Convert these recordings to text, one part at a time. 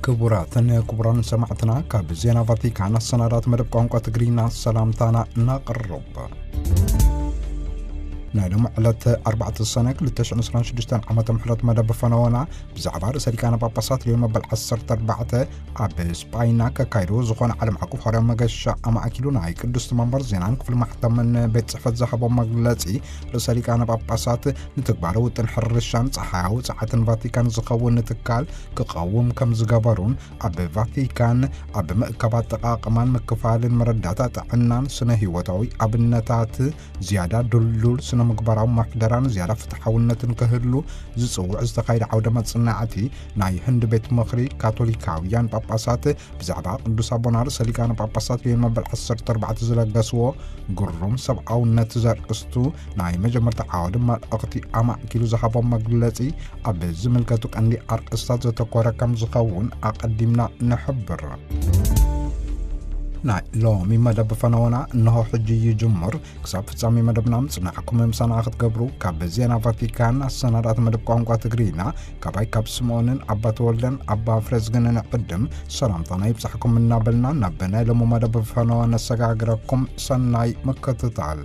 ክቡራትን ክቡራን ሰማዕትና፣ ካብ ዜና ቫቲካን ኣሰናዳት መደብ ቋንቋ ትግርኛ ሰላምታና እናቕርብ። ናይ ሎም ዕለት ኣርባዕተ ሰነ ክልተ ሽሕን ዕስራን ሽዱሽተን ዓመተ ምሕረት መደብ ፈነወና ብዛዕባ ርእሰ ሊቃነ ጳጳሳት ሊዮን መበል ዓሰርተ ኣርባዕተ ኣብ ስጳይና ከካይድዎ ዝኾነ ዓለም ዓቀፍ ሐዋርያዊ መገሻ ኣማእኪሉ ናይ ቅዱስ መንበር ዜናን ክፍሊ ማሕተምን ቤት ጽሕፈት ዝሃቦ መግለጺ፣ ርእሰ ሊቃነ ጳጳሳት ንትግባረ ውጥን ሕርሻን ጸሓያዊ ጸዓትን ቫቲካን ዝኸውን ትካል ክቐውም ከም ዝገበሩን፣ ኣብ ቫቲካን ኣብ ምእካብ ኣጠቓቕማን ምክፋልን መረዳእታ ጥዕናን ስነ ህይወታዊ ኣብነታት ዝያዳ ድልዱል ስነ ምግባራዊ ምሕደራን ዝያዳ ፍትሓውነትን ክህሉ ዝጽውዕ ዝተኻየደ ዓውደ መጽናዕቲ ናይ ህንዲ ቤት ምኽሪ ካቶሊካውያን ጳጳሳት ብዛዕባ ቅዱስ ኣቦና ርእሰ ሊቃነ ጳጳሳት ሊዮን መበል ዓሰርተ ኣርባዕተ ዝለገስዎ ግሩም ሰብኣውነት ዘርእስቱ ናይ መጀመርታ ዓወደ መልእኽቲ ኣማእኪሉ ዝሃቦ መግለጺ፣ ኣብ ዝምልከቱ ቀንዲ ኣርእስታት ዘተኮረ ከም ዝኸውን ኣቐዲምና ንሕብር። ናይ ሎሚ መደብ ፈነወና እንሆ ሕጂ ይጅምር። ክሳብ ፍጻሜ መደብና ምጽናዕኩም ምሳና ክትገብሩ ካብ ዜና ቫቲካን ኣሰናዳእቲ መደብ ቋንቋ ትግርኛ ካባይ ካብ ስምኦንን ኣባ ተወልደን ኣባ ፍሬዝግንን ዕድም ሰላምታና ይብጻሕኩም እናበልና፣ ናብ ናይ ሎሚ መደብ ፈነወ ነሰጋግረኩም። ሰናይ ምክትታል።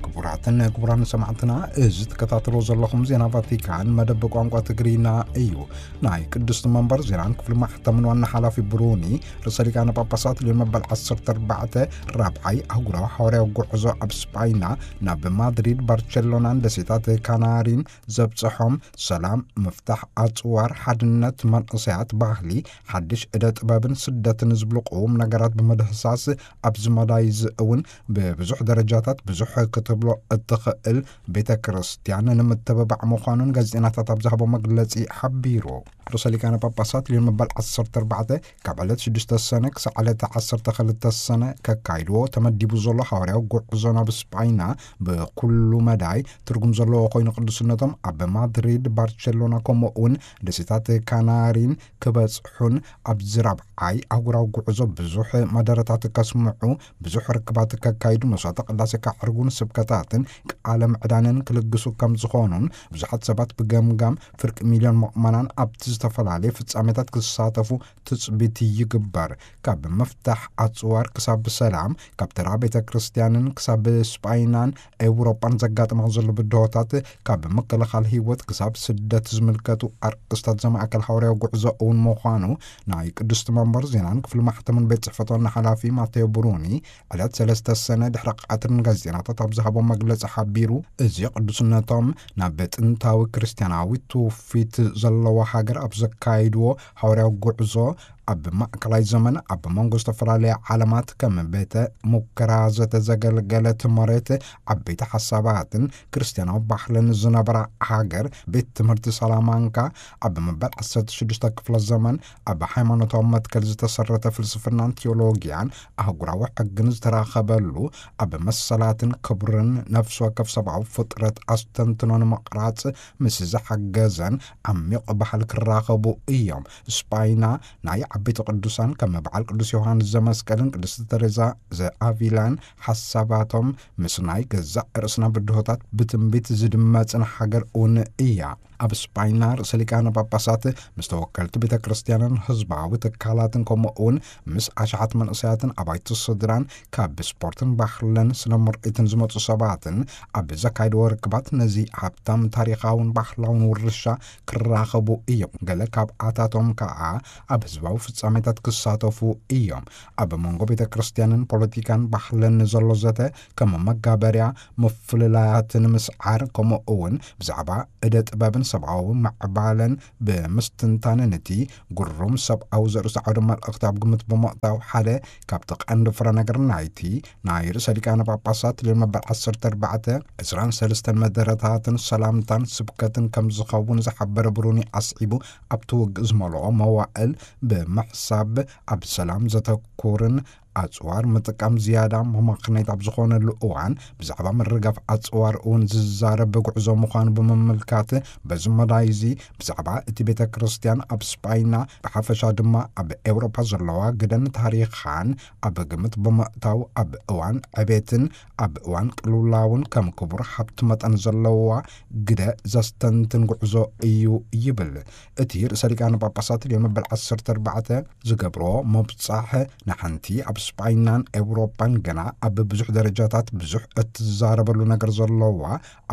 ክቡራትን ክቡራን ሰማዕትና፣ እዚ ትከታተሎ ዘለኹም ዜና ቫቲካን መደብ ቋንቋ ትግርኛ እዩ። ናይ ቅድስቲ መንበር ዜናን ክፍሊ ማሕተምን ዋና ሓላፊ ብሩኒ፣ ርእሰ ሊቃነ ጳጳሳት ሊዮን መበል ዓሰርተ ኣርባዕተ ራብዓይ ኣህጉራዊ ሐዋርያዊ ጉዕዞ ኣብ ስጳይና ናብ ማድሪድ፣ ባርቸሎናን ደሴታት ካናሪን ዘብጽሖም፣ ሰላም፣ ምፍታሕ ኣጽዋር፣ ሓድነት፣ መንእሰያት፣ ባህሊ፣ ሓድሽ እደ ጥበብን ስደትን ዝብሉ ቅዉም ነገራት ብምድህሳስ፣ ኣብዚ መዳይ እዚ እውን ብብዙሕ ደረጃታት ብዙሕ ክትብሎ እትኽእል ቤተ ክርስቲያን ንምትብባዕ ምዃኑን ጋዜጠኛታት ኣብ ዝሃቦ መግለጺ ሓቢሩ። ርእሰ ሊቃነ ጳጳሳት ሊዮን መበል ዓሰርተ ኣርባዕተ ካብ ዕለት ሽዱሽተ ሰነ ክሳዕ ዕለት ዓሰርተ ክልተ ሰነ ከካይድዎ ተመዲቡ ዘሎ ሐዋርያዊ ጉዕዞ ናብ ስጳይና ብኩሉ መዳይ ትርጉም ዘለዎ ኮይኑ፣ ቅዱስነቶም ኣብ ማድሪድ፣ ባርቸሎና፣ ከምኡ እውን ደሴታት ካናሪን ክበጽሑን፣ ኣብዚ ራብዓይ ኣህጉራዊ ጉዕዞ ብዙሕ መደረታት ከስምዑ፣ ብዙሕ ርክባት ከካይዱ፣ መስዋዕተ ቅዳሴ ከዕርጉን ስብከታትን ቃለ ምዕዳንን ክልግሱ ከም ዝኾኑን፣ ብዙሓት ሰባት ብገምጋም ፍርቂ ሚልዮን ምእመናን ኣብቲ ዝተፈላለየ ፍጻሜታት ክሳተፉ ትጽቢት ይግበር። ካብ ምፍታሕ ኣጽዋር ክሳብ ሰላም፣ ካብ ተራ ቤተ ክርስቲያንን ክሳብ ስጳይናን ኤውሮጳን ዘጋጥማ ዘሎ ብድሆታት፣ ካብ ምክልኻል ህይወት ክሳብ ስደት ዝምልከቱ ኣርእስታት ዘማእከል ሐዋርያዊ ጉዕዞ እውን ምዃኑ ናይ ቅድስቲ መንበር ዜናን ክፍሊ ማሕተምን ቤት ጽሕፈት ዋና ሓላፊ ማቴዎ ብሩኒ ዕለት ሰለስተ ሰነ ድሕሪ ቀትሪ ንጋዜጠኛታት ኣብ ዝሃቦ መግለጺ ሓቢሩ። እዚ ቅዱስነቶም ናብ ጥንታዊ ክርስቲያናዊ ትውፊት ዘለዋ ሃገር ኣብ ዘካይድዎ ሐዋርያዊ ጉዕዞ፣ ኣብ ማእከላይ ዘመን ኣብ መንጎ ዝተፈላለያ ዓለማት ከም ቤተ ሙከራ ዘተዘገልገለት መሬት፣ ዓበይቲ ሓሳባትን ክርስትያናዊ ባህልን ዝነበራ ሃገር፣ ቤት ትምህርቲ ሳላማንካ፣ ኣብ መበል ዓሰርተ ሽዱሽተ ክፍለ ዘመን ኣብ ሃይማኖታዊ መትከል ዝተሰረተ ፍልስፍናን ቴዎሎጊያን ኣህጉራዊ ሕግን ዝተራኸበሉ፣ ኣብ መሰላትን ክብርን ነፍሲ ወከፍ ሰብኣዊ ፍጥረት ኣስተንትኖ ንምቕራጽ ምስ ዝሓገዘን ዓሚቕ ባህል ክራኸቡ እዮም። ስጳይና ናይ ዓበይቲ ቅዱሳን ከም በዓል ቅዱስ ዮሃንስ ዘመስቀልን ቅድስቲ ተሬዛ ዘኣቪላን ሓሳባቶም ምስ ናይ ገዛእ ርእስና ብድሆታት ብትንቢት ዝድመጽን ሃገር እውን እያ። ኣብ ስጳይና ርእሰ ሊቃነ ጳጳሳት ምስ ተወከልቲ ቤተ ክርስቲያንን ህዝባዊ ትካላትን፣ ከምኡ እውን ምስ ኣሽሓት መንእሰያትን ኣባይቲ ስድራን፣ ካብ ስፖርትን ባህልን ስነ ምርኢትን ዝመጹ ሰባትን ኣብ ዘካየድዎ ርክባት፣ ነዚ ሃብታም ታሪኻውን ባህላውን ውርሻ ክራኸቡ እዮም። ገለ ካብኣታቶም ከኣ ኣብ ህዝባዊ ፍጻሜታት ክሳተፉ እዮም። ኣብ መንጎ ቤተ ክርስቲያንን ፖለቲካን ባህልን ዘሎ ዘተ ከም መጋበርያ ምፍልላያት ንምስዓር፣ ከምኡ እውን ብዛዕባ እደ ጥበብን ሰብኣዊ ምዕባለን ብምስትንታን፣ ነቲ ግሩም ሰብኣዊ ዘርእስቱ ዓውደ መልእኽቲ ኣብ ግምት ብምእታው፣ ሓደ ካብቲ ቀንዲ ፍረ ነገር ናይቲ ናይ ርእሰ ሊቃነ ጳጳሳት ሊዮን መበል ዓሰርተ ኣርባዕተ ዕስራን ሰለስተን መደረታትን ሰላምታን ስብከትን ከም ዝኸውን ዝሓበረ ብሩኒ ኣስዒቡ፣ ኣብቲ ውግእ ዝመልኦ መዋእል ብምሕሳብ፣ ኣብ ሰላም ዘተኩርን ኣጽዋር ምጥቃም ዝያዳ መማኽነይት ኣብ ዝኾነሉ እዋን፣ ብዛዕባ ምርጋፍ ኣጽዋር እውን ዝዛረብ ጉዕዞ ምዃኑ ብምምልካት፣ በዚ መዳይ እዚ ብዛዕባ እቲ ቤተ ክርስቲያን ኣብ ስጳይና፣ ብሓፈሻ ድማ ኣብ ኤውሮጳ ዘለዋ ግደን ታሪኻን ኣብ ግምት ብምእታው፣ ኣብ እዋን ዕቤትን ኣብ እዋን ቅልውላውን ከም ክቡር ሃብቲ መጠን ዘለዋ ግደ ዘስተንትን ጉዕዞ እዩ ይብል። እቲ ርእሰ ሊቃነ ጳጳሳት ሊዮን መበል ዓሰርተ ኣርባዕተ ዝገብሮ ምብጻሕ፣ ንሓንቲ ኣብ ስጳይናን ኤውሮጳን ገና ኣብ ብዙሕ ደረጃታት ብዙሕ እትዛረበሉ ነገር ዘለዋ፣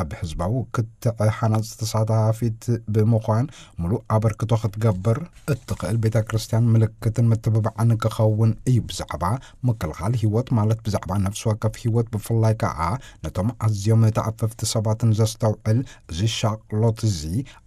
ኣብ ህዝባዊ ክትዕ ሃናጽ ተሳታፊት ብምዃን ምሉእ ኣበርክቶ ክትገብር እትኽእል ቤተ ክርስቲያን ምልክትን ምትብባዕን ክኸውን እዩ። ብዛዕባ ምክልኻል ህይወት፣ ማለት ብዛዕባ ነፍሲ ወከፍ ህይወት፣ ብፍላይ ከኣ ነቶም ኣዝዮም ተኣፈፍቲ ሰባትን ዘስተውዕል፣ እዚ ሻቕሎት እዚ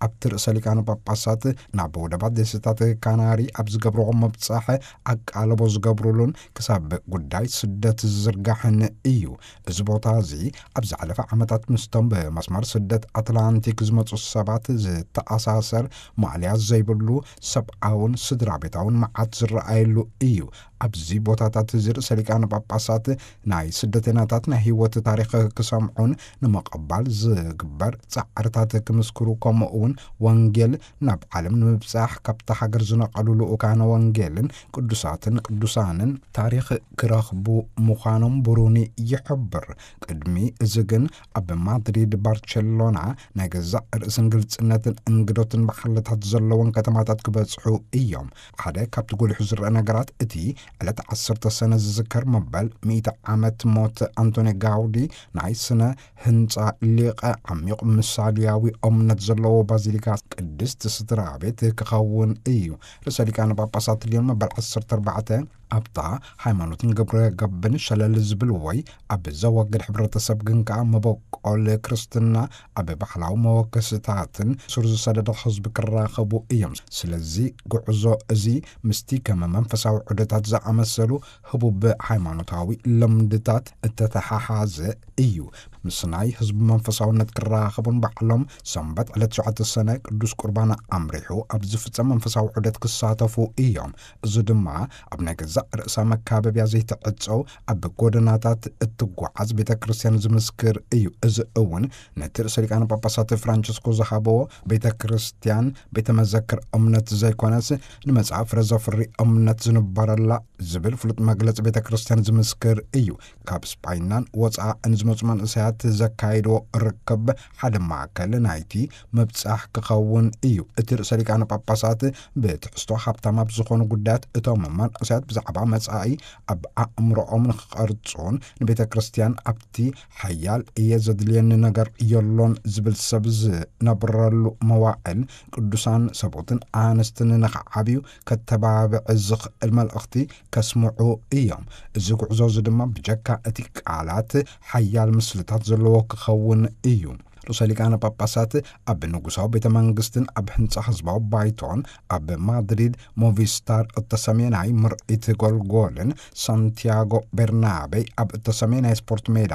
ኣብቲ ርእሰ ሊቃነ ጳጳሳት ናብ ወደባት ደሴታት ካናሪ ኣብ ዝገብርዎ ምብጻሕ ኣቃልቦ ዝገብሩሉን ክሳብ ጉዳይ ስደት ዝዝርጋሕን እዩ። እዚ ቦታ እዚ ኣብ ዝሓለፈ ዓመታት ምስቶም ብመስመር ስደት ኣትላንቲክ ዝመጹ ሰባት ዝተኣሳሰር፣ ማእለያ ዘይብሉ ሰብኣውን ስድራ ቤታውን መዓት ዝረኣየሉ እዩ። ኣብዚ ቦታታት እዚ ርእሰ ሊቃነ ጳጳሳት ናይ ስደተኛታት ናይ ህይወት ታሪኽ ክሰምዑን ንምቕባል ዝግበር ጻዕርታት ክምስክሩ፣ ከምኡ እውን ወንጌል ናብ ዓለም ንምብጻሕ ካብታ ሃገር ዝነቐሉ ልኡካነ ወንጌልን ቅዱሳትን ቅዱሳንን ታሪኽ ክረኽቡ ምዃኖም ብሩኒ ይሕብር። ቅድሚ እዚ ግን ኣብ ማድሪድ፣ ባርቸሎና ናይ ገዛእ ርእስን ግልጽነትን እንግዶትን ባህልታት ዘለወን ከተማታት ክበጽሑ እዮም። ሓደ ካብቲ ጎሊሑ ዝረአ ነገራት፣ እቲ ዕለት ዓሰርተ ሰነ ዝዝከር መበል ሚእቲ ዓመት ሞት ኣንቶኒ ጋውዲ፣ ናይ ስነ ህንጻ ሊቐ፣ ዓሚቕ ምሳልያዊ እምነት ዘለዎ ባዚሊካ ቅድስት ስድራ ቤት ክኸውን እዩ። ርእሰ ሊቃነ ጳጳሳት ሊዮን መበል ዓሰርተ ኣርባዕተ ኣብታ ሃይማኖትን ግብረ ገብን ሸለል ዝብል ወይ ኣብ ዘወግድ ሕብረተሰብ ግን ከኣ መበቆል ክርስትና ኣብ ባሕላዊ መወከስታትን ስር ዝሰደደ ህዝቢ ክራኸቡ እዮም። ስለዚ ጉዕዞ እዚ ምስቲ ከም መንፈሳዊ ዑደታት ዝኣመሰሉ ህቡብ ሃይማኖታዊ ልምድታት እተተሓሓዘ እዩ። ምስ ናይ ህዝቢ መንፈሳውነት ክራኸቡን ባዕሎም ሰንበት ዕለት ትሽዓተ ሰነ ቅዱስ ቁርባን ኣምሪሑ ኣብ ዝፍጸም መንፈሳዊ ዑደት ክሳተፉ እዮም። እዚ ድማ ኣብ ናይ ገዛእ ርእሳ መካበብያ ዘይትዕጸው፣ ኣብ ጎደናታት እትጓዓዝ ቤተ ክርስቲያን ዝምስክር እዩ። እዚ እውን ነቲ ርእሰ ሊቃነ ጳጳሳት ፍራንቸስኮ ዝሃበዎ ቤተ ክርስቲያን ቤተ መዘክር እምነት ዘይኮነስ፣ ንመጻኢ ፍረ ዘፍሪ እምነት ዝንበረላ ዝብል ፍሉጥ መግለጺ ቤተ ክርስቲያን ዝምስክር እዩ። ካብ ስጳይናን ወጻእን ዝመጹ መንእሰያት ዘካየድዎ ርክብ ሓደ ማእከል ናይቲ ምብጻሕ ክኸውን እዩ። እቲ ርእሰ ሊቃነ ጳጳሳት ብትሕዝቶ ሃብታም ኣብ ዝኾኑ ጉዳያት፣ እቶም መንእሰያት ብዛዕባ መጻኢ ኣብ ኣእምሮኦም ንኽቐርጹን ንቤተ ክርስቲያን ኣብቲ ሓያል እየ ዘድልየኒ ነገር የሎን ዝብል ሰብ ዝነብረሉ መዋዕል፣ ቅዱሳን ሰብኡትን ኣንስትን ንኽዓብዩ ከተባብዕ ዝኽእል መልእኽቲ ከስምዑ እዮም። እዚ ጉዕዞ እዚ ድማ ብጀካ እቲ ቃላት ሓያል ምስልታት ዘለዎ ክኸውን እዩ። ርእሰ ሊቃነ ጳጳሳት ኣብ ንጉሳዊ ቤተ መንግስትን ኣብ ህንጻ ህዝባዊ ባይቶን፣ ኣብ ማድሪድ ሞቪስታር እተሰምየ ናይ ምርኢት ጎልጎልን ሳንቲያጎ ቤርናቤ ኣብ እተሰምየ ናይ ስፖርት ሜዳ፣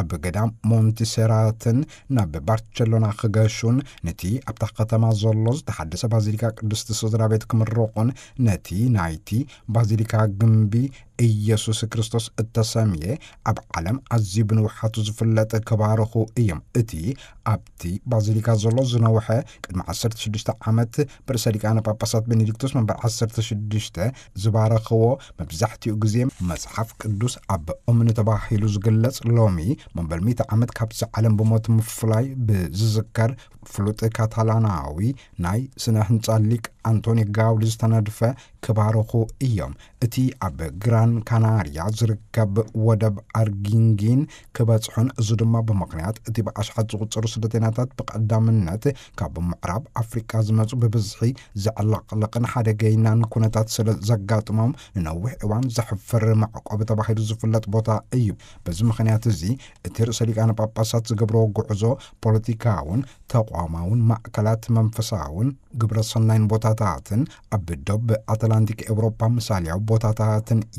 ኣብ ገዳም ሞንቲሴራትን ናብ ባርቸሎና ክገሹን፣ ነቲ ኣብታ ከተማ ዘሎ ዝተሓደሰ ባዚሊካ ቅድስቲ ስድራ ቤት ክምርቑን፣ ነቲ ናይቲ ባዚሊካ ግምቢ ኢየሱስ ክርስቶስ እተሰምየ ኣብ ዓለም ኣዝዩ ብንውሓቱ ዝፍለጥ ክባርኹ እዮም። እቲ ኣብቲ ባዚሊካ ዘሎ ዝነውሐ፣ ቅድሚ ዓሰርተ ሽዱሽተ ዓመት ብርእሰ ሊቃነ ጳጳሳት ቤኔዲክቶስ መንበር ዓሰርተ ሽዱሽተ ዝባረኽዎ፣ መብዛሕትኡ ግዜ መጽሓፍ ቅዱስ ኣብ እምኒ ተባሂሉ ዝግለጽ፣ ሎሚ መበል ሚእቲ ዓመት ካብዚ ዓለም ብሞት ምፍላይ ብዝዝከር ፍሉጥ ካታላናዊ ናይ ስነ ህንጻ ሊቅ ኣንቶኒ ጋውዲ ዝተነድፈ ክባርኹ እዮም። እቲ ኣብ ግራን ካናርያ ዝርከብ ወደብ ኣርጊንጊን ክበጽሑን፣ እዚ ድማ ብምኽንያት እቲ ብኣሽሓት ዝቑጸሩ ስደተኛታት ብቐዳምነት ካብ ምዕራብ ኣፍሪቃ ዝመጹ ብብዝሒ ዘዕለቕልቕን ሓደገይናን ኩነታት ስለ ዘጋጥሞም፣ ንነዊሕ እዋን ዘሕፍር መዕቆቢ ተባሂሉ ዝፍለጥ ቦታ እዩ። በዚ ምኽንያት እዚ፣ እቲ ርእሰ ሊቃነ ጳጳሳት ዝገብርዎ ጉዕዞ ፖለቲካውን ተቋማውን ማእከላት መንፈሳውን ግብረ ሰናይን ቦታታትን ኣብ ዶብ ኣትላንቲክ ኤውሮጳ ምሳልያዊ ቦታታትን